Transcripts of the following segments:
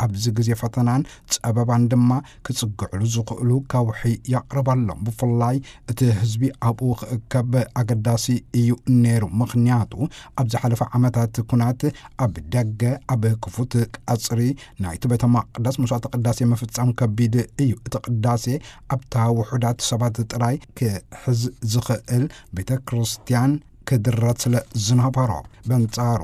ኣብዚ ግዜ ፈተናን ጸበባን ድማ ክጽግዕሉ ዝኽእሉ ከውሒ የቕርበሎም። ብፍላይ እቲ ህዝቢ ኣብኡ ክእከብ ኣገዳሲ እዩ ነይሩ። ምኽንያቱ ኣብ ዝሓለፈ ዓመታት ኩናት ኣብ ደገ ኣብ ክፉት ቀጽሪ ናይቲ ቤተ መቕደስ መስዋዕተ ቅዳሴ ምፍጻም ከቢድ እዩ። እቲ ቅዳሴ ኣብታ ውሑዳት ሰባት ጥራይ ክሕዝ ዝኽእል ቤተ ክርስቲያን ክድረት ስለ ዝነበሮ። በንጻሩ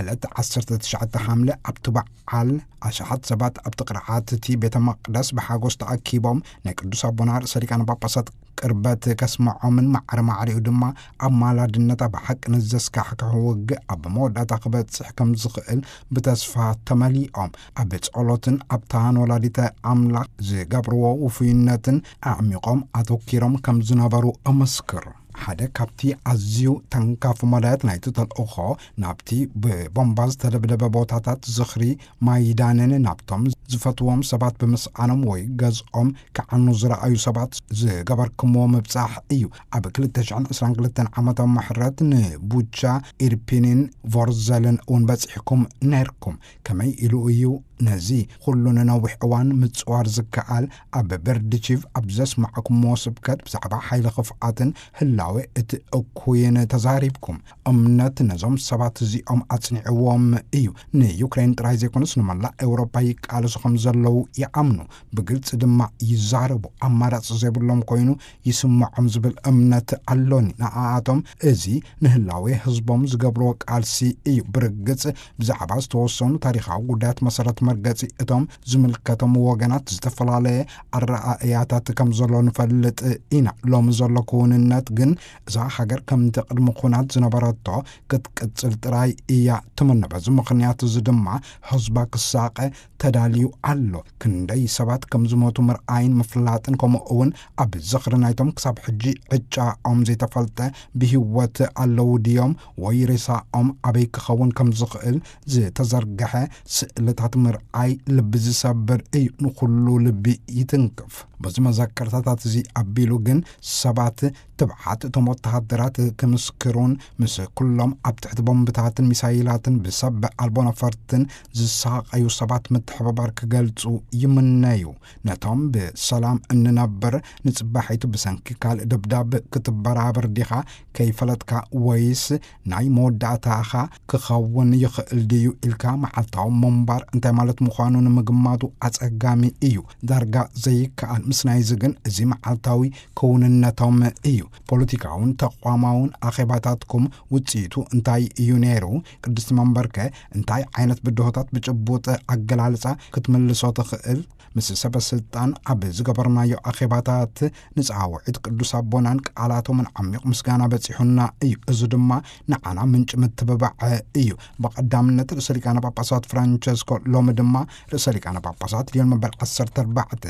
ዕለት ዓሰርተ ትሽዓተ ሓምለ ኣብቲ በዓል ኣሽሓት ሰባት ኣብቲ ቅርዓት እቲ ቤተ መቕደስ ብሓጎስ ተኣኪቦም ናይ ቅዱስ ኣቦና ርእሰ ሊቃነ ጳጳሳት ቅርበት ከስምዖምን ማዕረ ማዕሪኡ ድማ ኣማላድነት ኣብ ሓቂ ንዘስካሕክሕ ውግእ ኣብ መወዳእታ ክበጽሕ ከም ዝኽእል ብተስፋ ተመሊኦም ኣብ ጸሎትን ኣብታን ወላዲተ ኣምላኽ ዝገብርዎ ውፉይነትን ኣዕሚቖም ኣተኪሮም ከም ዝነበሩ እምስክር። ሓደ ካብቲ ኣዝዩ ተንካፊ መዳያት ናይቲ ተልእኾ ናብቲ ብቦምባ ዝተደብደበ ቦታታት ዝኽሪ ማይዳንን ናብቶም ዝፈትዎም ሰባት ብምስኣኖም ወይ ገዝኦም ክዓኑ ዝረኣዩ ሰባት ዝገበርክምዎ ምብጻሕ እዩ። ኣብ ክልተ ሽሕን ዕስራን ክልተን ዓመተ ምሕረት ንቡቻ ኢርፒንን ቮርዘልን እውን በጺሕኩም ነይርኩም። ከመይ ኢሉ እዩ ነዚ ኩሉ ንነዊሕ እዋን ምጽዋር ዝከኣል? ኣብ በርድቺቭ ኣብ ዘስማዕኩምዎ ስብከት ብዛዕባ ሓይሊ ክፍኣትን ህላዌ እቲ እኩይን ተዛሪብኩም። እምነት ነዞም ሰባት እዚኦም ኣጽኒዕዎም እዩ። ንዩክሬን ጥራይ ዘይኮነስ ንመላእ ኤውሮፓ ይቃለሱ ከም ዘለዉ ይኣምኑ። ብግልጺ ድማ ይዛረቡ። ኣማራጺ ዘይብሎም ኮይኑ ይስምዖም ዝብል እምነት ኣሎኒ። ንኣኣቶም እዚ ንህላዌ ህዝቦም ዝገብርዎ ቃልሲ እዩ። ብርግጽ ብዛዕባ ዝተወሰኑ ታሪኻዊ ጉዳያት መሰረት መርገጺ እቶም ዝምልከቶም ወገናት ዝተፈላለየ ኣረኣእያታት ከም ዘሎ ንፈልጥ ኢና። ሎሚ ዘሎ ክውንነት ግን እዛ ሃገር ከምቲ ቅድሚ ኩናት ዝነበረቶ ክትቅጽል ጥራይ እያ ትምነ። በዚ ምኽንያት እዚ ድማ ህዝባ ክሳቐ ተዳልዩ ኣሎ። ክንደይ ሰባት ከም ዝሞቱ ምርኣይን ምፍላጥን፣ ከምኡ እውን ኣብ ዝኽሪ ናይቶም ክሳብ ሕጂ ዕጫኦም ዘይተፈልጠ ብህይወት ኣለዉ ድዮም ወይ ሬሳኦም ኣበይ ክኸውን ከም ዝኽእል ዝተዘርግሐ ስእልታት ምርኣይ ልቢ ዝሰብር እዩ። ንኹሉ ልቢ ይትንክፍ። በዚ መዘከርታታት እዚ ኣቢሉ ግን ሰባት ትብዓት እቶም ወተሃደራት ክምስክሩን ምስ ኩሎም ኣብ ትሕቲ ቦምብታትን ሚሳይላትን ብሰብ ኣልቦ ነፈርትን ዝሳቐዩ ሰባት ምትሕብባር ክገልጹ ይምነዩ። ነቶም ብሰላም እንነብር ንጽባሒቱ ብሰንኪ ካልእ ደብዳብ ክትበራበር ዲኻ ከይፈለጥካ ወይስ ናይ መወዳእታኻ ክኸውን ይኽእል ድዩ ኢልካ መዓልታዊ ምንባር እንታይ ማለት ምዃኑ ንምግማቱ ኣጸጋሚ እዩ። ዳርጋ ዘይከኣል። ምስ ናይዚ ግን እዚ መዓልታዊ ክውንነቶም እዩ። ፖለቲካውን ተቋማውን ኣኼባታትኩም ውጽኢቱ እንታይ እዩ ነይሩ? ቅድስቲ መንበርከ እንታይ ዓይነት ብድሆታት ብጭቡጥ ኣገላልጻ ክትምልሶ ትኽእል? ምስ ሰበ ስልጣን ኣብ ዝገበርናዮ ኣኼባታት ንጻውዒት ቅዱስ ኣቦናን ቃላቶምን ዓሚቕ ምስጋና በጺሑና እዩ። እዚ ድማ ንዓና ምንጪ ምትብባዕ እዩ። ብቐዳምነት ርእሰ ሊቃነ ጳጳሳት ፍራንቸስኮ፣ ሎሚ ድማ ርእሰ ሊቃነ ጳጳሳት ሊዮን መበል ዓሰርተ ኣርባዕተ፣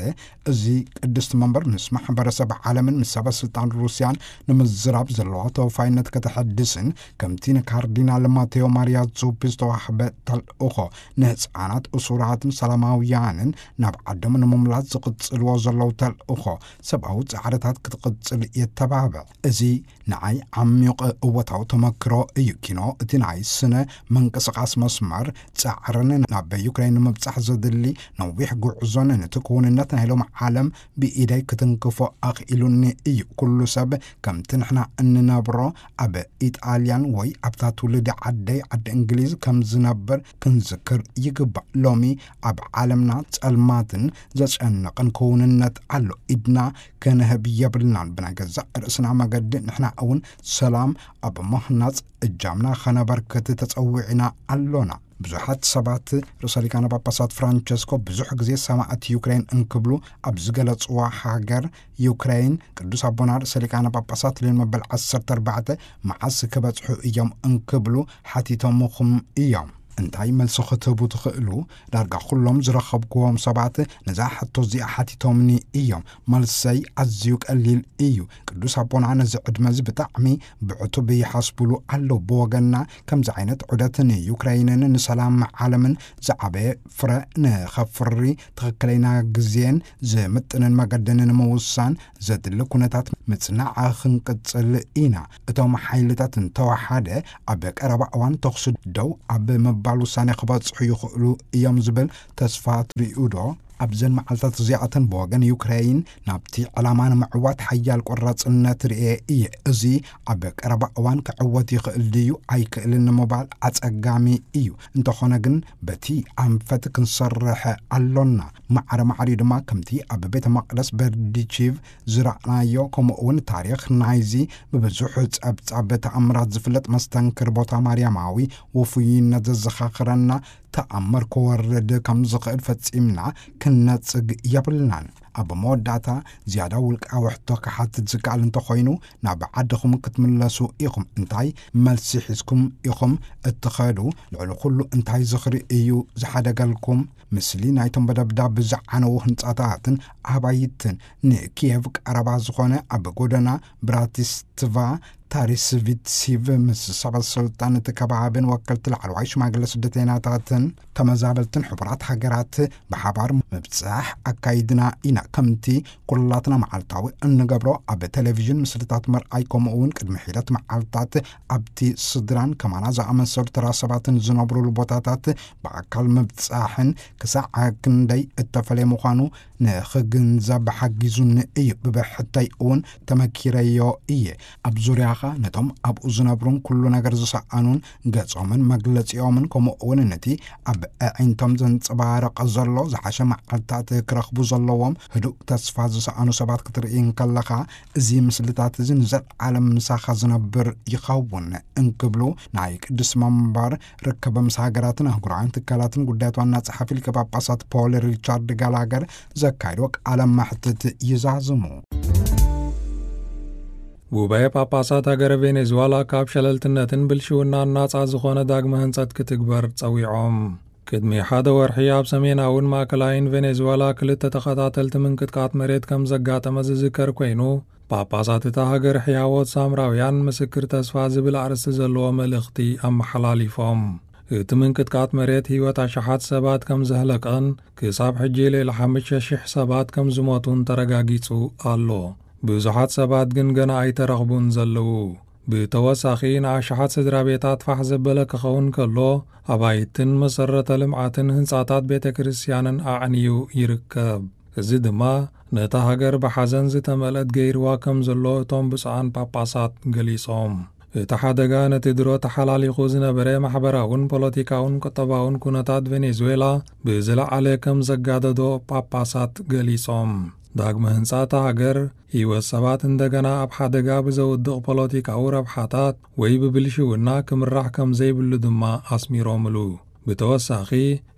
እዚ ቅድስቲ መንበር ምስ ማሕበረሰብ ዓለምን ምስ ሰበ ስልጣን ሩስያን ንምዝራብ ዘለዋ ተወፋይነት ከተሐድስን፣ ከምቲ ንካርዲናል ማቴዎ ማርያ ዙፒ ዝተዋህበ ተልእኾ ንህፃናት፣ እሱራትን ሰላማውያንን ናብ ዓዶም ንምምላስ ዝቕጽልዎ ዘለዉ ተልእኾ ሰብኣዊ ጻዕርታት ክትቕጽል የተባብዕ። እዚ ንዓይ ዓሚቕ እወታዊ ተመክሮ እዩ። ኪኖ እቲ ናይ ስነ ምንቅስቓስ መስመር ጻዕርን ናብ ዩክሬን ንምብጻሕ ዘድሊ ነዊሕ ጉዕዞን ነቲ ክውንነት ናይ ሎሚ ዓለም ብኢደይ ክትንክፎ ኣኽኢሉኒ እዩ። ኩሉ ሰብ ከምቲ ንሕና እንነብሮ ኣብ ኢጣልያን ወይ ኣብታ ትውልዲ ዓደይ ዓዲ እንግሊዝ ከም ዝነብር ክንዝክር ይግባእ። ሎሚ ኣብ ዓለምና ጸልማትን ዘጨንቕን ክውንነት ኣሎ። ኢድና ክንህብ የብልናን። ብናይ ገዛእ ርእስና መገዲ ንሕና እውን ሰላም ኣብ ምህናጽ እጃምና ኸነበርክት ተጸዊዕና ኣሎና። ብዙሓት ሰባት ርእሰ ሊቃነ ጳጳሳት ፍራንቸስኮ ብዙሕ ግዜ ሰማዕት ዩክሬን እንክብሉ ኣብ ዝገለጽዋ ሃገር ዩክሬን ቅዱስ ኣቦና ርእሰ ሊቃነ ጳጳሳት ሊዮን መበል ዓሰርተ ኣርባዕተ መዓስ ክበጽሑ እዮም እንክብሉ ሓቲቶምኹም እዮም። እንታይ መልሲ ክትህቡ ትኽእሉ? ዳርጋ ኩሎም ዝረኸብክዎም ሰባት ነዛ ሕቶ እዚኣ ሓቲቶምኒ እዮም። መልሰይ ኣዝዩ ቀሊል እዩ። ቅዱስ ኣቦና ነዚ ዕድመ እዚ ብጣዕሚ ብዕቱብ ይሓስቡሉ ኣለዉ። ብወገንና ከምዚ ዓይነት ዑደት ንዩክረይንን ንሰላም ዓለምን ዝዓበየ ፍረ ንኸፍሪ ትኽክለኛ ግዜን ዝምጥንን መገድን ንምውሳን ዘድሊ ኩነታት ምጽናዕ ክንቅጽል ኢና። እቶም ሓይልታት እንተወሓደ ኣብ ቀረባ እዋን ተኹሲ ደው ኣብ ምባል ምባል ውሳኔ ክበጽሑ ይኽእሉ እዮም ዝብል ተስፋ ትርእዩ ዶ? ኣብዘን መዓልታት እዚኣተን ብወገን ዩክሬይን ናብቲ ዕላማ ንምዕዋት ሓያል ቆራጽነት ርእየ እየ። እዚ ኣብ ቀረባ እዋን ክዕወት ይኽእል ድዩ ኣይክእልን ንምባል ኣጸጋሚ እዩ። እንተኾነ ግን በቲ ኣንፈት ክንሰርሕ ኣሎና። ማዕረ ማዕሪኡ ድማ ከምቲ ኣብ ቤተ መቕደስ በርዲቺቭ ዝረኣናዮ፣ ከምኡ እውን ታሪኽ ናይዚ ብብዙሕ ጸብጻብ ተኣምራት ዝፍለጥ መስተንክር ቦታ ማርያማዊ ውፉይነት ዘዘኻኽረና ተኣምር ክወርድ ከም ዝኽእል ፈጺምና ክንነጽግ የብልናን። ኣብ መወዳእታ ዝያዳ ውልቃዊ ሕቶ ክሓትት ዝከኣል እንተኾይኑ፣ ናብ ዓድኹም ክትምለሱ ኢኹም። እንታይ መልሲ ሒዝኩም ኢኹም እትኸዱ? ልዕሊ ኩሉ እንታይ ዝኽሪ እዩ ዝሓደገልኩም? ምስሊ ናይቶም ብደብዳብ ዝዓነዉ ህንጻታትን ኣባይትን፣ ንኪየቭ ቀረባ ዝኾነ ኣብ ጎደና ብራቲስላቫ ታሪስቪትሲቭ ምስ ሰበ ስልጣን እቲ ከባብን ወከልቲ ላዕለዋይ ሽማግለ ስደተኛታትን ተመዛበልትን ሕቡራት ሃገራት ብሓባር ምብጻሕ ኣካይድና ኢና። ከምቲ ኩላትና መዓልታዊ እንገብሮ ኣብ ቴሌቪዥን ምስልታት ምርኣይ፣ ከምኡ እውን ቅድሚ ሒደት መዓልታት ኣብቲ ስድራን ከማና ዝኣመሰሉ ተራ ሰባትን ዝነብሩሉ ቦታታት ብኣካል ምብጻሕን ክሳዕ ክንደይ እተፈለየ ምዃኑ ንኽግንዘብ ሓጊዙኒ እዩ። ብብሕተይ እውን ተመኪረዮ እየ። ኣብ ዙርያኻ ነቶም ኣብኡ ዝነብሩን ኩሉ ነገር ዝሰኣኑን ገጾምን መግለጺኦምን፣ ከምኡ እውን ነቲ ኣብ ኣዒንቶም ዘንጸባርቕ ዘሎ ዝሓሸ መዓልታት ክረኽቡ ዘለዎም ህዱእ ተስፋ ዝሰኣኑ ሰባት ክትርኢ እንከለኻ፣ እዚ ምስልታት እዚ ንዘለዓለም ምሳኻ ዝነብር ይኸውን እንክብሉ ናይ ቅዱስ መንበር ርክብ ምስ ሃገራትን ኣህጉራውያን ትካላትን ጉዳያት ዋና ጸሓፊ ሊቀ ጳጳሳት ፖል ሪቻርድ ጋላገር ዘካይዶ ቃለ መሕትት ይዛዝሙ። ጉባኤ ጳጳሳት ሃገረ ቬኔዙዋላ ካብ ሸለልትነትን ብልሽውናን ናጻ ዝኾነ ዳግመ ህንጸት ክትግበር ጸዊዖም። ቅድሚ ሓደ ወርሒ ኣብ ሰሜናውን ማእከላይን ቬኔዙዋላ ክልተ ተኸታተልቲ ምንቅጥቃጥ መሬት ከም ዘጋጠመ ዝዝከር ኮይኑ፣ ጳጳሳት እታ ሃገር ሕያዎት ሳምራውያን ምስክር ተስፋ ዝብል ኣርእስቲ ዘለዎ መልእኽቲ ኣመሓላሊፎም። እቲ ምንቅጥቃጥ መሬት ህይወት ኣሽሓት ሰባት ከም ዘህለቀን ክሳብ ሕጂ ልዕሊ ሓሙሽተ ሽሕ ሰባት ከም ዝሞቱን ተረጋጊጹ ኣሎ። ብዙሓት ሰባት ግን ገና ኣይተረኽቡን ዘለዉ። ብተወሳኺ ንኣሽሓት ስድራ ቤታት ፋሕ ዘበለ ክኸውን ከሎ፣ ኣባይትን መሰረተ ልምዓትን ህንጻታት ቤተ ክርስቲያንን ኣዕንዩ ይርከብ። እዚ ድማ ነታ ሃገር ብሓዘን ዝተመልአት ገይርዋ ከም ዘሎ እቶም ብፁዓን ጳጳሳት ገሊጾም። እቲ ሓደጋ ነቲ ድሮ ተሓላሊኹ ዝነበረ ማሕበራውን ፖለቲካውን ቁጠባውን ኩነታት ቬኔዙዌላ ብዝለዓለ ከም ዘጋደዶ ጳጳሳት ገሊጾም። ዳግመ ህንጻ እታ ሃገር ህይወት ሰባት እንደገና ኣብ ሓደጋ ብዘውድቕ ፖለቲካዊ ረብሓታት ወይ ብብልሽውና ክምራሕ ከም ዘይብሉ ድማ ኣስሚሮምሉ። ብተወሳኺ፣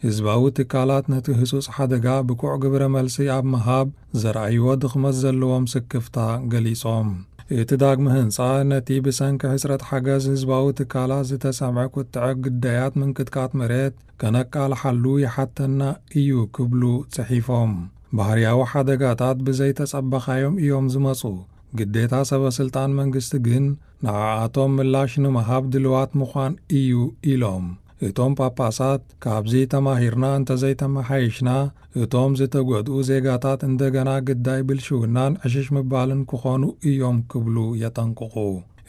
ህዝባዊ ትካላት ነቲ ህጹጽ ሓደጋ ብቁዕ ግብረ መልሲ ኣብ ምሃብ ዘርኣይዎ ድኽመት ዘለዎም ስክፍታ ገሊጾም። እቲ ዳግመ ህንጻ ነቲ ብሰንኪ ሕጽረት ሓገዝ ህዝባዊ ትካላት ዝተሰምዐ ቁጥዐ ግዳያት ምንቅጥቃጥ መሬት ከነቃልሓሉ ይሓተና እዩ ክብሉ ጽሒፎም። ባህርያዊ ሓደጋታት ብዘይተጸበኻዮም እዮም ዝመጹ። ግዴታ ሰበ ስልጣን መንግስቲ ግን ንዓኣቶም ምላሽ ንምሃብ ድልዋት ምዃን እዩ ኢሎም። እቶም ጳጳሳት፣ ካብዚ ተማሂርና እንተዘይተመሓይሽና፣ እቶም ዝተጎድኡ ዜጋታት እንደገና ግዳይ ብልሽውናን ዕሽሽ ምባልን ክኾኑ እዮም ክብሉ የጠንቅቑ።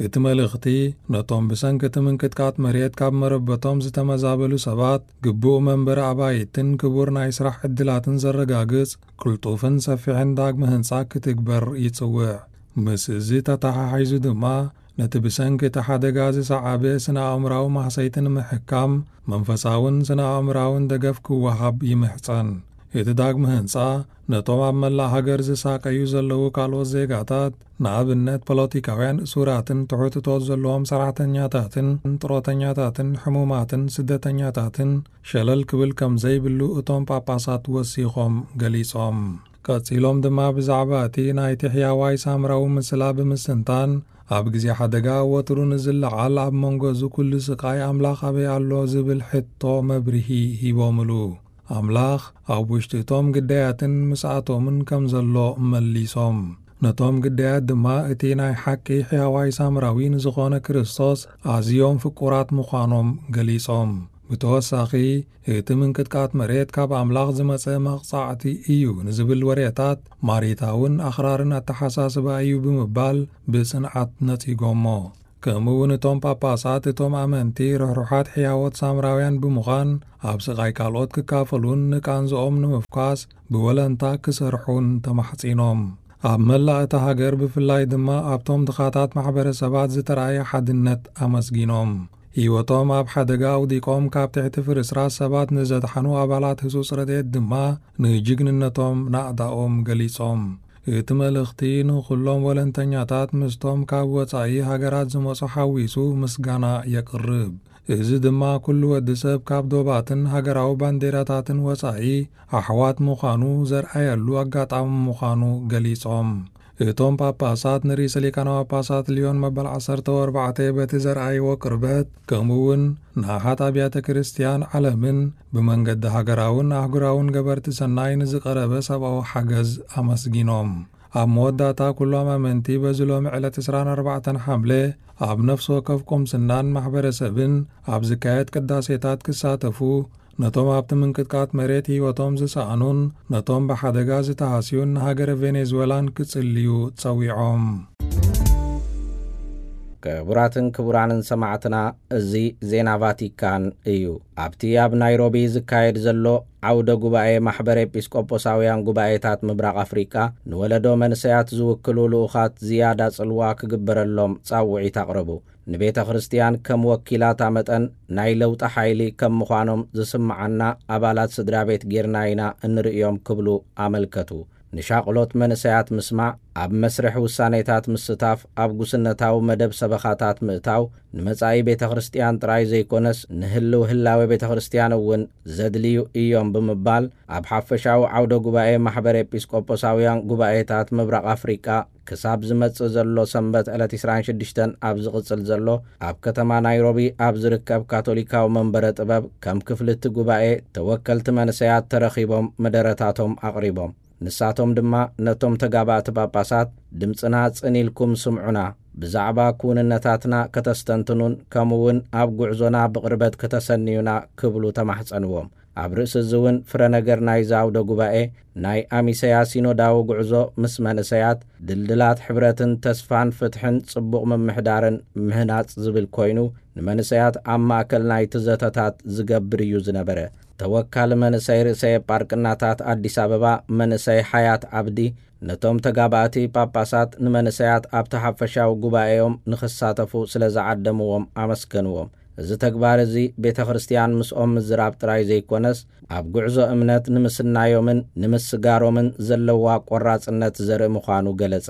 እቲ መልእኽቲ ነቶም ብሰንኪ እቲ ምንቅጥቃጥ መሬት ካብ መረበቶም ዝተመዛበሉ ሰባት ግቡእ መንበሪ ኣባይትን ክቡር ናይ ስራሕ ዕድላትን ዘረጋግጽ ቅልጡፍን ሰፊሕን ዳግመ ህንጻ ክትግበር ይጽውዕ። ምስ እዚ ተተሓሒዙ ድማ ነቲ ብሰንኪ እቲ ሓደጋ ዝሰዓበ ስነ ኣእምራዊ ማህሰይቲ ንምሕካም መንፈሳውን ስነ ኣእምራውን ደገፍ ክወሃብ ይምሕጸን። እቲ ዳግመ ህንጻ ነቶም ኣብ መላእ ሃገር ዝሳቀዩ ዘለዉ ካልኦት ዜጋታት፣ ንኣብነት ፖለቲካውያን እሱራትን ትሑት እቶት ዘለዎም ሰራሕተኛታትን ጥሮተኛታትን ሕሙማትን ስደተኛታትን ሸለል ክብል ከም ዘይብሉ እቶም ጳጳሳት ወሲኾም ገሊጾም። ቀጺሎም ድማ ብዛዕባ እቲ ናይቲ ሕያዋይ ሳምራዊ ምስላ ብምስትንታን፣ ኣብ ግዜ ሓደጋ ወትሩ ንዝለዓል ኣብ መንጎ እዚ ኩሉ ስቓይ ኣምላኽ ኣበይ ኣሎ ዝብል ሕቶ መብርሂ ሂቦምሉ። ኣምላኽ ኣብ ውሽጢ እቶም ግዳያትን ምስኣቶምን ከም ዘሎ መሊሶም። ነቶም ግዳያት ድማ እቲ ናይ ሓቂ ሕያዋይ ሳምራዊ ንዝኾነ ክርስቶስ ኣዝዮም ፍቁራት ምዃኖም ገሊጾም። ብተወሳኺ፣ እቲ ምንቅጥቃጥ መሬት ካብ ኣምላኽ ዝመጸ መቕጻዕቲ እዩ ንዝብል ወሬታት ማሪታውን ኣኽራርን ኣተሓሳስባ እዩ ብምባል ብጽንዓት ነጺጎሞ። ከምኡ እውን እቶም ጳጳሳት እቶም ኣመንቲ ርሕሩሓት ሕያዎት ሳምራውያን ብምዃን ኣብ ስቓይ ካልኦት ክካፈሉን ንቃንዝኦም ንምፍኳስ ብወለንታ ክሰርሑን ተማሕጺኖም። ኣብ መላእ እታ ሃገር ብፍላይ ድማ ኣብቶም ድኻታት ማሕበረሰባት ዝተራእየ ሓድነት ኣመስጊኖም። ህይወቶም ኣብ ሓደጋ ኣውዲቖም ካብ ትሕቲ ፍርስራስ ሰባት ንዘድሓኑ ኣባላት ህጹጽ ረድኤት ድማ ንጅግንነቶም ናእዳኦም ገሊጾም። እቲ መልእኽቲ ንኹሎም ወለንተኛታት ምስቶም ካብ ወጻኢ ሃገራት ዝመጹ ሓዊሱ ምስጋና የቕርብ። እዚ ድማ ኩሉ ወዲ ሰብ ካብ ዶባትን ሃገራዊ ባንዴራታትን ወጻኢ ኣሕዋት ምዃኑ ዘርኣየሉ ኣጋጣሚ ምዃኑ ገሊጾም። እቶም ጳጳሳት ንርእሰ ሊቃነ ጳጳሳት ሊዮን መበል ዓሰርተ ኣርባዕተ በቲ ዘርኣይዎ ቅርበት፣ ከምኡ እውን ንኣሓት ኣብያተ ክርስቲያን ዓለምን ብመንገዲ ሃገራውን ኣህጉራውን ገበርቲ ሰናይ ንዝቐረበ ሰብኣዊ ሓገዝ ኣመስጊኖም። ኣብ መወዳእታ ኩሎም ኣመንቲ በዚ ሎሚ ዕለት ዕስራን ኣርባዕተን ሓምለ ኣብ ነፍሲ ወከፍ ቁምስናን ማሕበረሰብን ኣብ ዝካየድ ቅዳሴታት ክሳተፉ፣ ነቶም ኣብቲ ምንቅጥቃጥ መሬት ህይወቶም ዝሰኣኑን ነቶም ብሓደጋ ዝተሃስዩን ንሃገረ ቬኔዙዌላን ክጽልዩ ጸዊዖም። ክቡራትን ክቡራንን ሰማዕትና፣ እዚ ዜና ቫቲካን እዩ። ኣብቲ ኣብ ናይሮቢ ዝካየድ ዘሎ ዓውደ ጉባኤ ማሕበር ኤጲስቆጶሳውያን ጉባኤታት ምብራቕ ኣፍሪቃ፣ ንወለዶ መንሰያት ዝውክሉ ልኡኻት ዝያዳ ጽልዋ ክግበረሎም ጻውዒት ኣቕረቡ። ንቤተ ክርስቲያን ከም ወኪላታ መጠን ናይ ለውጢ ሓይሊ ከም ምዃኖም ዝስምዓና ኣባላት ስድራ ቤት ጌርና ኢና እንርእዮም ክብሉ ኣመልከቱ። ንሻቕሎት መንእሰያት ምስማዕ፣ ኣብ መስርሕ ውሳኔታት ምስታፍ፣ ኣብ ጉስነታዊ መደብ ሰበኻታት ምእታው፣ ንመጻኢ ቤተ ክርስቲያን ጥራይ ዘይኮነስ ንህልው ህላዌ ቤተ ክርስቲያን እውን ዘድልዩ እዮም ብምባል፣ ኣብ ሓፈሻዊ ዓውደ ጉባኤ ማሕበር ኤጲስቆጶሳውያን ጉባኤታት ምብራቕ ኣፍሪቃ ክሳብ ዝመጽእ ዘሎ ሰንበት ዕለት ዕስራን ሽዱሽተን ኣብ ዝቕጽል ዘሎ ኣብ ከተማ ናይሮቢ ኣብ ዝርከብ ካቶሊካዊ መንበረ ጥበብ ከም ክፍሊ እቲ ጉባኤ ተወከልቲ መንእሰያት ተረኺቦም መደረታቶም ኣቕሪቦም። ንሳቶም ድማ ነቶም ተጋባእቲ ጳጳሳት፣ "ድምጽና ጽን ኢልኩም ስምዑና፣ ብዛዕባ ክውንነታትና ከተስተንትኑን ከምኡውን ኣብ ጉዕዞና ብቕርበት ከተሰንዩና" ክብሉ ተማሕጸንዎም። ኣብ ርእሲ እዚ እውን ፍረ ነገር ናይዚ ኣውደ ጉባኤ ናይ ኣሚሰያ ሲኖዳዊ ጉዕዞ ምስ መንእሰያት፣ ድልድላት ሕብረትን ተስፋን ፍትሕን ጽቡቕ ምምሕዳርን ምህናጽ ዝብል ኮይኑ፣ ንመንእሰያት ኣብ ማእከል ናይቲ ዘተታት ዝገብር እዩ ዝነበረ። ተወካሊ መንእሰይ ርእሰ የጳርቅናታት ኣዲስ ኣበባ መንእሰይ ሓያት ዓብዲ፣ ነቶም ተጋባእቲ ጳጳሳት ንመንእሰያት ኣብቲ ሓፈሻዊ ጉባኤኦም ንኽሳተፉ ስለ ዝዓደምዎም ኣመስገንዎም። እዚ ተግባር እዚ ቤተ ክርስቲያን ምስኦም ምዝራብ ጥራይ ዘይኮነስ፣ ኣብ ጉዕዞ እምነት ንምስናዮምን ንምስጋሮምን ዘለዋ ቆራጽነት ዘርኢ ምዃኑ ገለጸ።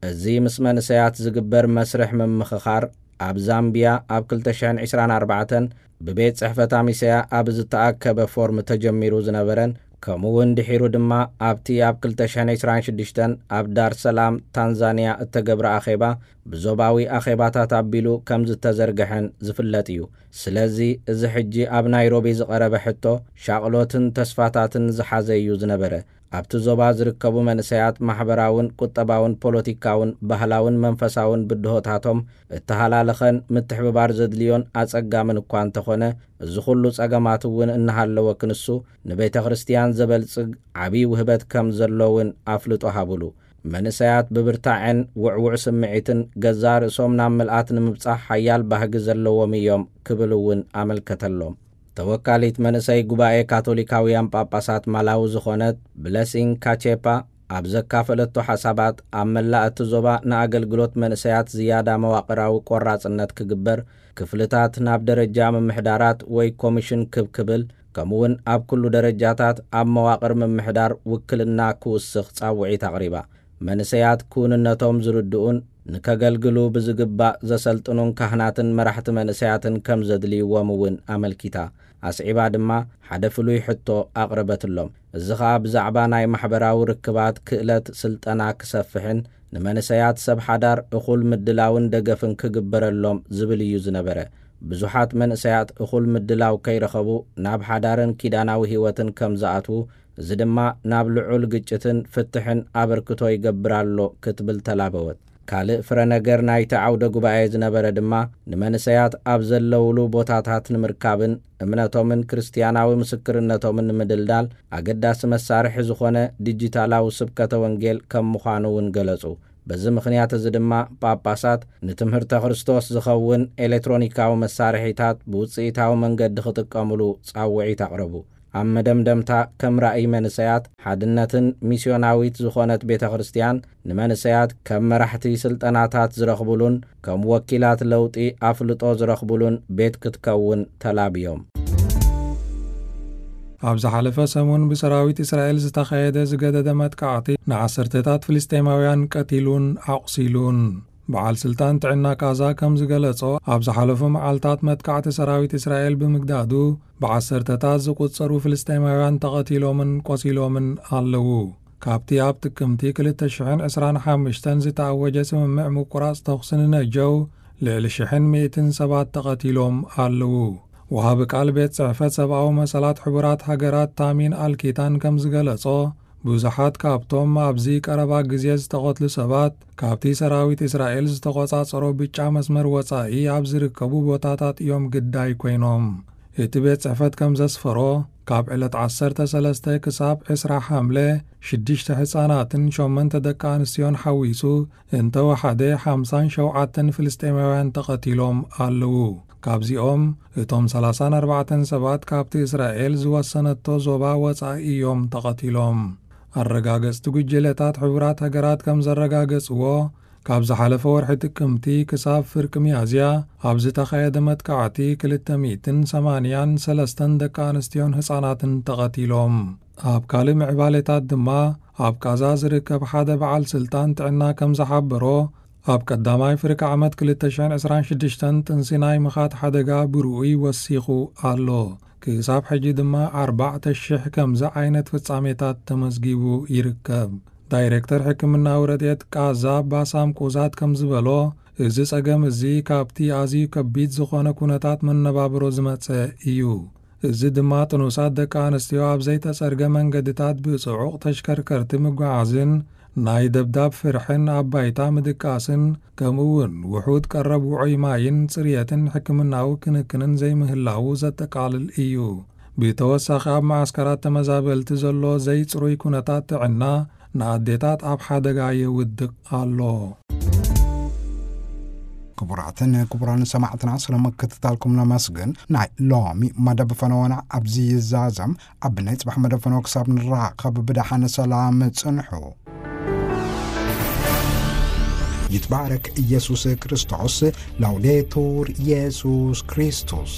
እዚ ምስ መንእሰያት ዝግበር መስርሕ ምምኽኻር፣ ኣብ ዛምቢያ ኣብ ክልተ ሽሕን ዕስራን ኣርባዕተን ብቤት ጽሕፈት ኣሚሰያ ኣብ ዝተኣከበ ፎርም ተጀሚሩ ዝነበረን፣ ከምኡ እውን ድሒሩ ድማ ኣብቲ ኣብ ክልተ ሽሕን ዕስራን ሽዱሽተን ኣብ ዳር ሰላም ታንዛንያ እተገብረ ኣኼባ፣ ብዞባዊ ኣኼባታት ኣቢሉ ከም ዝተዘርግሐን ዝፍለጥ እዩ። ስለዚ፣ እዚ ሕጂ ኣብ ናይሮቢ ዝቐረበ ሕቶ፣ ሻቕሎትን ተስፋታትን ዝሓዘ እዩ ዝነበረ። ኣብቲ ዞባ ዝርከቡ መንእሰያት ማሕበራውን ቁጠባውን ፖለቲካውን ባህላውን መንፈሳውን ብድሆታቶም እተሃላለኸን ምትሕብባር ዘድልዮን ኣጸጋምን እኳ እንተኾነ፣ እዚ ኩሉ ጸገማት እውን እናሃለወ ክንሱ ንቤተ ክርስቲያን ዘበልጽግ ዓብዪ ውህበት ከም ዘሎ እውን ኣፍልጦ ሃቡሉ። መንእሰያት ብብርታዐን ውዕዉዕ ስምዒትን ገዛእ ርእሶም ናብ ምልኣት ንምብጻሕ ሓያል ባህጊ ዘለዎም እዮም ክብል እውን ኣመልከተሎም። ተወካሊት መንእሰይ ጉባኤ ካቶሊካውያን ጳጳሳት ማላዊ ዝኾነት ብለሲንግ ካቼፓ ኣብ ዘካፈለቶ ሓሳባት፣ ኣብ መላእ እቲ ዞባ ንኣገልግሎት መንእሰያት ዝያዳ መዋቕራዊ ቆራጽነት ክግበር፣ ክፍልታት ናብ ደረጃ ምምሕዳራት ወይ ኮሚሽን ክብ ክብል፣ ከምኡውን ኣብ ኩሉ ደረጃታት ኣብ መዋቕር ምምሕዳር ውክልና ክውስኽ ጻውዒት ኣቕሪባ። መንእሰያት ክውንነቶም ዝርድኡን ንከገልግሉ ብዝግባእ ዘሰልጥኑን ካህናትን መራሕቲ መንእሰያትን ከም ዘድልይዎም እውን ኣመልኪታ። ኣስዒባ ድማ፣ ሓደ ፍሉይ ሕቶ ኣቕረበትሎም። እዚ ኸኣ ብዛዕባ ናይ ማሕበራዊ ርክባት ክእለት ስልጠና ክሰፍሕን ንመንእሰያት ሰብ ሓዳር እኹል ምድላውን ደገፍን ክግበረሎም ዝብል እዩ ዝነበረ። ብዙሓት መንእሰያት እኹል ምድላው ከይረኸቡ ናብ ሓዳርን ኪዳናዊ ህይወትን ከም ዝኣትዉ፣ እዚ ድማ ናብ ልዑል ግጭትን ፍትሕን ኣበርክቶ ይገብር ኣሎ ክትብል ተላበወት። ካልእ ፍረ ነገር ናይቲ ዓውደ ጉባኤ ዝነበረ ድማ፣ ንመንእሰያት ኣብ ዘለውሉ ቦታታት ንምርካብን እምነቶምን ክርስትያናዊ ምስክርነቶምን ንምድልዳል ኣገዳሲ መሳርሒ ዝኾነ ዲጂታላዊ ስብከተ ወንጌል ከም ምዃኑ እውን ገለጹ። በዚ ምኽንያት እዚ ድማ ጳጳሳት ንትምህርተ ክርስቶስ ዝኸውን ኤሌክትሮኒካዊ መሳርሒታት ብውጽኢታዊ መንገዲ ክጥቀሙሉ ጻውዒት ኣቕረቡ። ኣብ መደምደምታ፣ ከም ራእይ መንሰያት ሓድነትን ሚስዮናዊት ዝኾነት ቤተ ክርስቲያን፣ ንመንሰያት ከም መራሕቲ ስልጠናታት ዝረኽቡሉን ከም ወኪላት ለውጢ ኣፍልጦ ዝረኽቡሉን ቤት ክትከውን ተላብዮም። ኣብ ዝሓለፈ ሰሙን ብሰራዊት እስራኤል ዝተኻየደ ዝገደደ መጥቃዕቲ ንዓሰርተታት ፍልስጤማውያን ቀቲሉን ኣቑሲሉን። በዓል ስልጣን ጥዕና ቃዛ ከም ዝገለጾ፣ ኣብ ዝሓለፉ መዓልታት መጥቃዕቲ ሰራዊት እስራኤል ብምግዳዱ ብዓሰርተታት ዝቑጸሩ ፍልስጤማውያን ተቐቲሎምን ቆሲሎምን ኣለዉ። ካብቲ ኣብ ጥቅምቲ ክልተ ሽሕን ዕስራን ሓሙሽተን ዝተኣወጀ ስምምዕ ምቁራጽ ተኹሲ ንነጀው ልዕሊ ሽሕን ሚእትን ሰባት ተቐቲሎም ኣለዉ። ወሃቢ ቃል ቤት ጽሕፈት ሰብኣዊ መሰላት ሕቡራት ሃገራት ታሚን ኣልኪታን ከም ዝገለጾ፣ ብዙሓት ካብቶም ኣብዚ ቀረባ ግዜ ዝተቐትሉ ሰባት ካብቲ ሰራዊት እስራኤል ዝተቖጻጸሮ ብጫ መስመር ወጻኢ ኣብ ዝርከቡ ቦታታት እዮም ግዳይ ኮይኖም። እቲ ቤት ጽሕፈት ከም ዘስፈሮ፣ ካብ ዕለት ዓሰርተ ሰለስተ ክሳብ ዕስራ ሓምለ፣ ሽዱሽተ ህጻናትን ሸሞንተ ደቂ ኣንስትዮን ሓዊሱ እንተወሓደ ሓምሳን ሸውዓተን ፍልስጤማውያን ተቐቲሎም ኣለዉ። ካብዚኦም እቶም ሰላሳን ኣርባዕተን ሰባት ካብቲ እስራኤል ዝወሰነቶ ዞባ ወጻኢ እዮም ተቐቲሎም። ኣረጋገጽቲ ጉጅለታት ሕቡራት ሃገራት ከም ዘረጋገጽዎ፣ ካብ ዝሓለፈ ወርሒ ጥቅምቲ ክሳብ ፍርቂ ሚያዝያ ኣብ ዝተኻየደ መጥቃዕቲ ክልተ ሚእትን ሰማንያን ሰለስተን ደቂ ኣንስትዮን ህጻናትን ተቐቲሎም። ኣብ ካልእ ምዕባሌታት ድማ፣ ኣብ ቃዛ ዝርከብ ሓደ በዓል ስልጣን ጥዕና ከም ዝሓበሮ፣ ኣብ ቀዳማይ ፍርቂ ዓመት ክልተ ሽሕን ዕስራን ሽዱሽተን ጥንሲ ናይ ምኻድ ሓደጋ ብርኡይ ወሲኹ ኣሎ። ክሳብ ሕጂ ድማ ኣርባዕተ ሽሕ ከምዚ ዓይነት ፍጻሜታት ተመዝጊቡ ይርከብ። ዳይሬክተር ሕክምናዊ ረድኤት ቃዛ ባሳም ቁዛት ከም ዝበሎ፣ እዚ ጸገም እዚ ካብቲ ኣዝዩ ከቢድ ዝኾነ ኩነታት መነባብሮ ዝመጸ እዩ። እዚ ድማ ጥኑሳት ደቂ ኣንስትዮ ኣብ ዘይተጸርገ መንገድታት ብጽዑቕ ተሽከርከርቲ ምጓዓዝን ናይ ደብዳብ ፍርሕን ኣብ ባይታ ምድቃስን፣ ከምኡ እውን ውሑድ ቀረብ ውዑይ ማይን ጽርየትን ሕክምናዊ ክንክንን ዘይምህላዉ ዘጠቃልል እዩ። ብተወሳኺ፣ ኣብ መዓስከራት ተመዛበልቲ ዘሎ ዘይጽሩይ ኩነታት ጥዕና ንኣዴታት ኣብ ሓደጋ የውድቕ ኣሎ። ክቡራትን ክቡራን ሰማዕትና፣ ስለ ምክትታልኩም ነመስግን። ናይ ሎሚ መደብ ፈነወና ኣብዚ ይዛዘም። ኣብ ናይ ጽባሕ መደብ ፈነወ ክሳብ ንራኸብ፣ ብደሓን ሰላም ጽንሑ። ይትባረክ ኢየሱስ ክርስቶስ። ላውዴቱር ኢየሱስ ክርስቶስ።